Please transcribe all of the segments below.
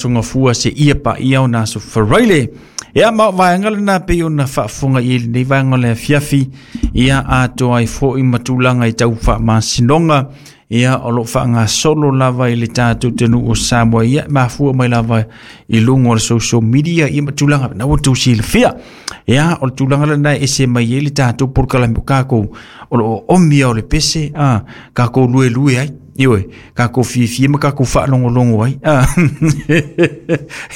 Gafua seia paia o na aso Faraile. Ia ma o vaega lena pei ona faafofoga i ai lenei vaega o le afiafi, ia atoa ai foi ma tulaga i tau faamasinoga, ia o lo o faagasolo lava i le tatou atunuu o Samoa, ia mafua mai lava i luga o le social media, ia ma tulaga na ua outou silafia. Ia o le tulaga lena e ese mai ai le tatou polokalame o kākou o lo o omia o le pese, a kākou luelue ai. Ioe, kākou fiafia ma kākou faalogologo ai. Ah.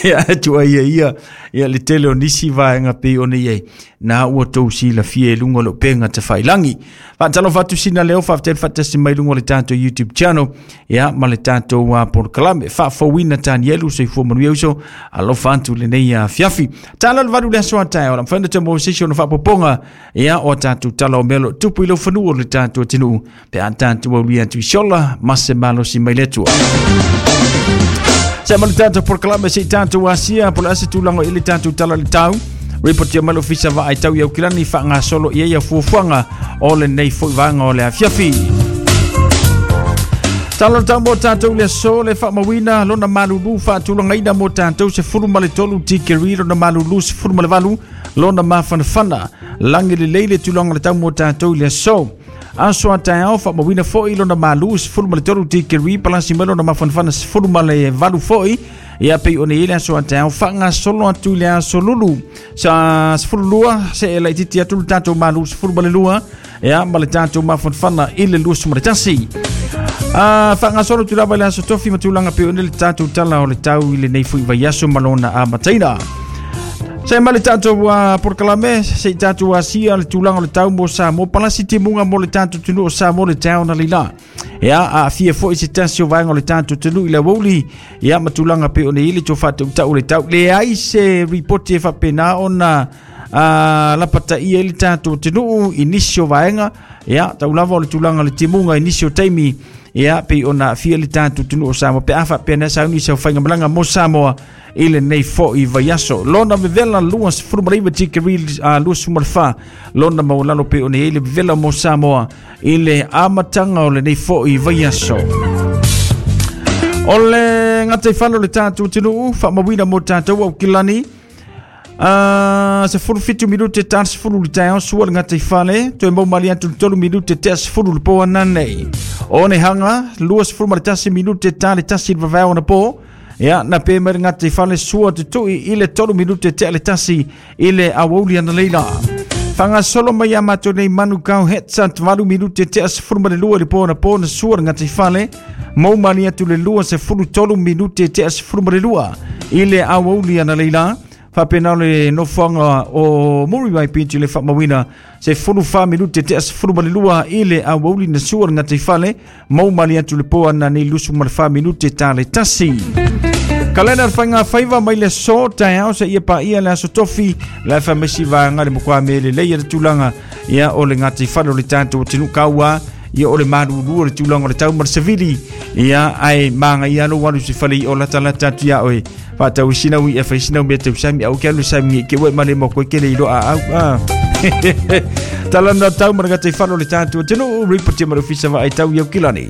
Ia atu ai ia ia, ia le tele o nisi vaega pei ona i ai. Na ua tou silafia i luga o le upega tafailagi. Faatalofa atu sina leo, faafetai le faatasi mai luga o le tatou YouTube channel, ia ma le tatou polokalame. Faafouina Tanielu, soifua manuia uso, alofa atu lenei afiafi. Tala le valu le aso a taeao, la mafai ona toe maua se isi ona faapopoga, ia o tatou tala o mea o lo o tupu i lau fanua o le tatou atunuu. Pe a tatou aulia atu i se ola ma se malosi mai le Atua. Se ma le tatou polokalame se i tatou asia po o le a se tulaga i le tatou tala le tau. Report ia mai le ofisa vaai tau i Aukilani faagasolo i ai ia fuafuaga o lenei foi vaega o le afiafi. Tala le tau mo tatou le aso le faamauina lona malulu faatulagaina mo tatou 13 tikeri lona malulu 18 lona mafanafana lagi lelei le tulaga o le tau mo tatou i le aso. Aso a taeao faamauina foi lona malu 13 tikeri palasi mai lona mafanafana 18 foi. Ia pei ona i ai le aso a taeao faagasolo atu i le aso lulu. Sa 12 se e laitiiti atu le tatou malu 12 ia ma le tatou mafanafana i le 21. Faagasolo atu lava i le aso tofi ma tulaga pei ona le tatou tala o le tau i lenei foi vaiaso ma lona amataina. Se ma le tatou polokalame se i tatou asia le tulaga o le tau mo Samoa palasi timuga mo le tatou atunuu o Samoa le tau na leila. Ia aafia foi se tasi o vaega o le tatou atunuu i le aoauli, ia ma tulaga pei ona i ai le toe faatautau o le tau. Leai se ripoti e faapena ona lapataia ai le tatou atunuu i nisi o vaega, ia tau lava o le tulaga o le timuga i nisi o taimi, ia pei ona aafia le tatou atunuu o Samoa pe a faapea na sauni se faigamalaga mo Samoa i lenei foi vaiaso. Lona vevela 29 tikeri 24 lona maualalo pei ona i ai le vevela mo Samoa i le amataga o lenei foi vaiaso. O le gataifale o le tatou atunuu faamauina mo tatou Aukilani. 17 minute ta 10 le taeao sua le gataifale toe mau mali atu le 3 minute tea 10 le po ananei. O ne hanga 21 minute ta le tasi le vavao na po. Ia, na pe mai le gataifale sua te tui i le 3 minute tea le tasi i le aoauli ana leila. Whangasolo mai a mātou nei manu kau headsat 8 minute tea 12 le po na po na sua le gataifale. Mau mali atu le 23 minute tea 12 i le aoauli ana leila. Faapena o le nofoaga o Muriwai Beach i le faamauina se 14 minute tea 12 i le aoauli na sua le gataifale. Mau mali atu le po ana nei 24 minute ta le tasi. Kalena le whainga whaiva mai le aso taeao se ia paia le aso tofi le whamesi vaega le mokwa me le leia le tulaga ia o le gataifale o le tatou atunuu kaua ia o le malulu o le tulaga o le tau ma le savili ia ae maga ia lou alu se fale i o latalata atu ia oe faatau i sina ui e fai sina mea tau sami au ke alu sami ke ue male mo koe ke le ilo a au a tala na tau ma le gataifale o le tatou atunuu report ma le ofisa vaai tau i Aukilani.